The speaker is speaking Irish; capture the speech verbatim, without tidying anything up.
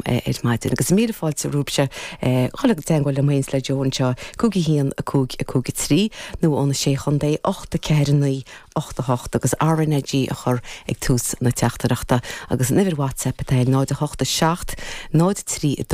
ar maidin agus míle fáilte romhaibhse chuile teagmháil le mains le Joe anseo cúig a haon a cúig a cúig a trí nó óna sé chontae ocht a ceathair naoi ocht a hocht agus RnaG a chur ag tús na teachtaireachta agus an uimhir WhatsApp atá náid a hocht a seacht náid trí a dó